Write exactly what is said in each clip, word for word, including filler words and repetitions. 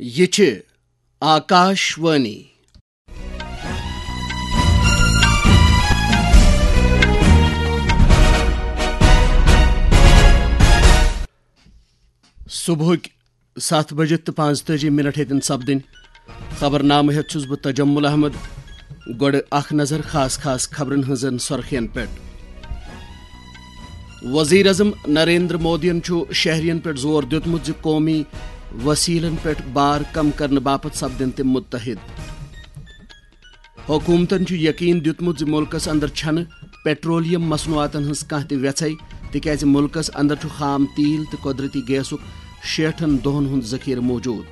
یہِ چھِ آکاش وانی۔ صبحٕکۍ ستھ بجے تہٕ پانٛژتٲجی منٹ ہیٚتن سپدٕنۍ۔ خبرنامہٕ ہیٚتھ چھُس بہٕ تجمل احمد۔ گۄڈٕ اکھ نظر خاص خاص خبرن ہٕنٛزن سرخین پٮ۪ٹھ۔ وزیر اعظم نریندر مودیَن چھُ شہریَن پٮ۪ٹھ زور دیُتمُت زِ قومی وسیلن پٮ۪ٹھ بار کم کرنہٕ باپتھ سپدن تِم متحد۔ حکومتن چھُ یقین دیُتمُت زِ مُلکس اندر چھنہٕ پیٹرولیم مصنوعاتن ہٕنٛز کانٛہہ تہِ ویژھے، تِکیازِ مُلکس اندر چھُ خام تیل تہٕ قۄدرٔتی گیسُک شیٹھن دۄہن ہُنٛد ذخیرٕ موجود۔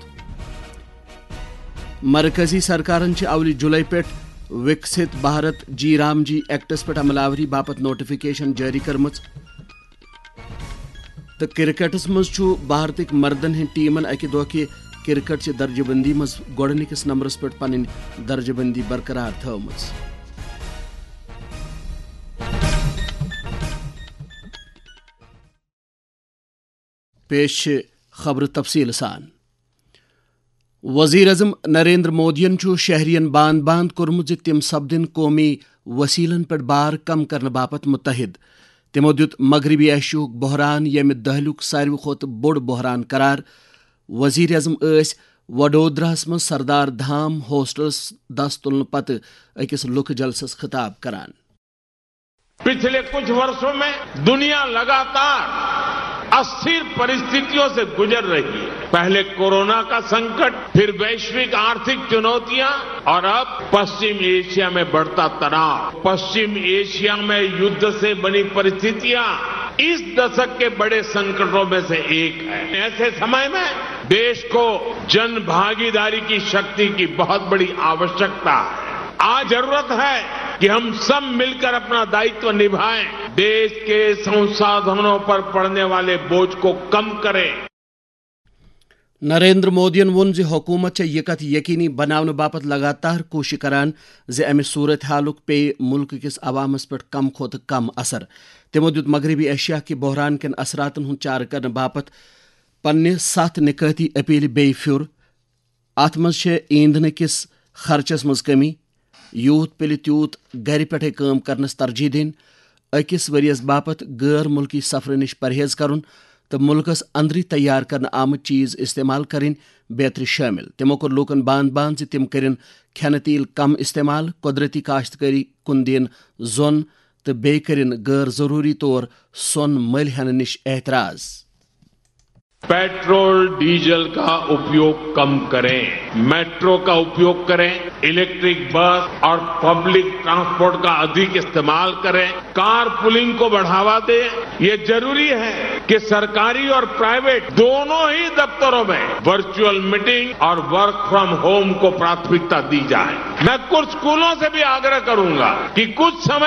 مرکزی سرکارن چھِ اولہِ جولائی پٮ۪ٹھ وکسِت بھارت جی رام جی ایکٹس پٮ۪ٹھ عمل آوری باپتھ نوٹیفکیشن جٲری کٔرمٕژ۔ تہٕ کرکٹس منٛز چھُ بھارتٕکۍ مردن ہٕنٛدۍ ٹیمن اکہِ دۄہ کہِ کرکٹ چہِ درجہٕ بندی منٛز گۄڈٕنِکِس نمبرس پٮ۪ٹھ پنٕنۍ درجہٕ بندی برقرار تھٲومٕژ۔ پیش چھِ خبرٕ تفصیٖل سان۔ وزیر اعظم نریندر مودیَن چھُ شہریَن باند باند کوٚرمُت زِ تِم سپدن قومی وسیلن پٮ۪ٹھ بار کم کرنہٕ باپتھ متحد۔ تِمو دیُت مغربی ایشیاہُک بحران، ییٚمہِ دٔہلِیُک ساروی کھۄتہٕ بوٚڑ بحران قرار۔ وزیر اعظم ٲسۍ وڈودراہَس منٛز سردار دھام ہوسٹلس دس تُلنہٕ پتہٕ أکِس لُکہٕ جلسس خطاب کران۔ पिछले कुछ वर्षों में दुनिया लगातार अस्थिर परिस्थितियों से गुजर रही है। पहले कोरोना का संकट, फिर वैश्विक आर्थिक चुनौतियां और अब पश्चिम एशिया में बढ़ता तनाव। पश्चिम एशिया में युद्ध से बनी परिस्थितियां इस दशक के बड़े संकटों में से एक है। ऐसे समय में देश को जन भागीदारी की शक्ति की बहुत बड़ी आवश्यकता है। आज जरूरत है कि हम सब मिलकर अपना दायित्व निभाएं, देश के संसाधनों पर पड़ने वाले बोझ को कम करें। نریندر مودیَن ووٚن زِ حکوٗمت چھےٚ یہِ کَتھ یقینی بناونہٕ باپتھ لگاتار کوٗشش کران زِ اَمہِ صورت حالُک پیٚیہِ مُلکہٕ کِس عوامس پٮ۪ٹھ کم کھۄتہٕ کم اثر۔ تِمو دیُت مغربی ایشیا کہِ بحران کٮ۪ن اثراتن ہُنٛد چارٕ کرنہٕ باپتھ پننہِ ستھ نکٲتی اپیلہِ بیٚیہِ پھیُر۔ اتھ منٛز چھےٚ ایندھنہٕ کِس خرچس منٛز کمی، یوٗت پِلہِ تیوٗت گرِ پٮ۪ٹھے کٲم کرنس ترجیح دِنۍ، أکِس ؤرۍ یَس باپتھ غٲر مُلکی سفرٕ نِش پرہیز کرُن تہٕ مُلکس اندرٕے تیار کرنہٕ آمٕتۍ چیز استعمال کرٕنۍ بیترِ شٲمِل۔ تِمو کوٚر لوٗکن باند باند زِ تِم کٔرِن کھٮ۪نہٕ تیٖل کم استعمال، قۄدرتی کاشتکٲری کُن دِن زۄن تہٕ بیٚیہِ کٔرِن غٲر ضروٗری طور سۄن مٔلۍ ہٮ۪نہٕ نِش احتراز۔ पेट्रोल डीजल का उपयोग कम करें, मेट्रो का उपयोग करें, इलेक्ट्रिक बस और पब्लिक ट्रांसपोर्ट का अधिक इस्तेमाल करें, कार पुलिंग को बढ़ावा दें। ये जरूरी है कि सरकारी और प्राइवेट दोनों ही दफ्तरों में वर्चुअल मीटिंग और वर्क फ्रॉम होम को प्राथमिकता दी जाए। मैं कुछ स्कूलों से भी आग्रह करूंगा कि कुछ समय